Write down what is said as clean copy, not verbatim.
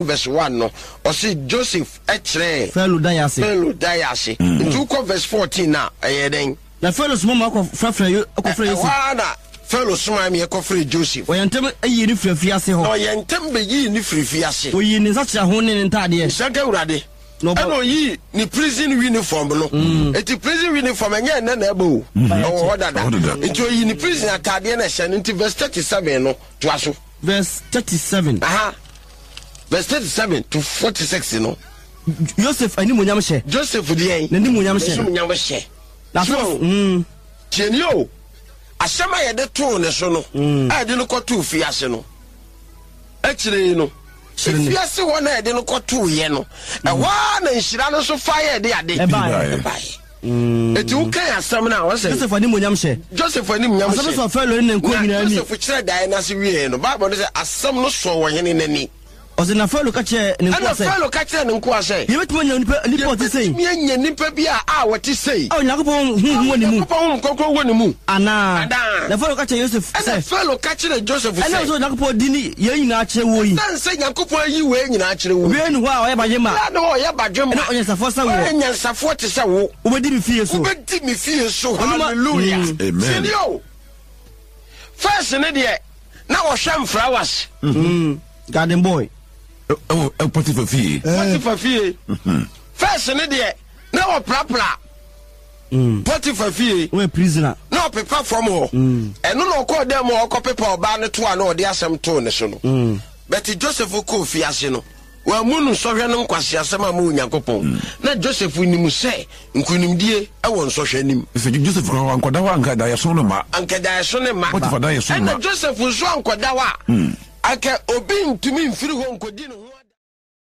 Verse 1 no, ɔse Joseph kyerɛɛ Farao daeɛ ase. Farao daeɛ ase. Nti wokɔ verse 14 a, ɛyɛ dɛn? Na Farao soma ma wɔkɔfrɛfrɛɛ Yo, kɔfrɛɛ Ɛhɔ Yosef. ara na Farao somaa ma yɛkɔfrɛɛ Joseph. Ɔyɛɛ ntɛm yii no firii afiase hɔ. Na ɔyɛɛ ntɛm bɛyii no firii fiase. Ɔyii ne nsakyeraho ne ne ntaadeɛ. Nhyira nka Awurade. Na ɔbɔ. Ɛna ɔyii ne prison uniform no. Nti prison uniform ɛnyɛ ɛnnɛ na ɛba o. Ɛwɔ hɔ dada. Ɛwɔ dada. Nti ɔyii ne prison ataadeɛ na ɛhyɛ no. Nti verse 37 no, toa so. Verse 37. Aha. Verse 37 to 46 no. Joseph animuonyam hyɛ. Joseph deɛn? N'animuonyam hyɛ. N'animuonyam hyɛ. Na So, so, mm. tie nie o. Asɛm a yɛde too ne so no, a yɛde no kɔtoo fiase no, akyire yi no, Kyerɛ ne. efiase hɔ na yɛde no kɔtooyɛ no, ɛhɔ ara na nhyira no nso fa yɛ de ade. Ɛbaeɛ. Ɛbaeɛ. Eti wokan asɛm no a, ɔsɛ. Joseph animuonyam hyɛ. Joseph animuonyam Asɛm no hyɛ. sɔɔ Farao ne ne nkoa Na nyinaa ani. Joseph kyerɛ daeɛ no ase wieeɛ no, Bible no sɛ asɛm no sɔɔ ɔhene no ani. Ɔse, na Farao ka kyerɛɛ ne nkoa Ɛnna sɛ. Farao ka kyerɛɛ ne nkoa sɛ. Yɛbɛtumi anya onipa, onipa a ɔte sei. Yɛbɛtumi anya nipa bi a a ɔte sei. A Onyankopɔn honhom wɔ ne mu. A Onyankopɔn honhom kronkron wɔ ne mu. Anaa? Anaa? Na Farao ka kyerɛɛ Yosef sɛ. Ɛnna Farao ka kyerɛɛ Joseph sɛ. Ɛnam sɛ Onyankopɔn de ne yei nyinaa akyerɛ woɔ yi. Ɛsiane sɛ Nyankopɔn ayi wei nyinaa akyerɛ wo yi. Obiara nni hɔ a ɔyɛ badwemma. Obiara nni hɔ a ɔyɛ badwemma. Ne onyansafoɔ sɛ woɔ. Ɔyɛ nyansafoɔ te sɛ wo. Wobɛdi me fie so. Wobɛdi me fie so. Hallelujah. Amen. Tie nie o. First ne deɛ, na ɔhwɛ mfrawas. Garden boy. Ɛwɔ ɛ Potiphar fie. Potiphar fie. First ne deɛ na ɔprapra Potiphar fie. Wɔyɛ prisoner. Na ɔpepa fam hɔ. Ɛno na ɔkɔɔ dɛm a ɔkɔpepa ɔbaa no to a na ɔde asɛm too ne so no. But Joseph kɔɔ fiase no, wammu no nsɔhwɛ no nkwaseasɛm amma Onyankopɔn. Na Joseph nim sɛ nkonimdie wɔ nsɔhwɛ anim. Sɛ Joseph koraa wankɔda hɔ a anka daeɛso no mma. Anka daeɛso no mma. Potiphar daeɛso mma. Ɛna Joseph nso ankɔda hɔ a, anka obi ntumi mfiri hɔ nkɔdi ne ho.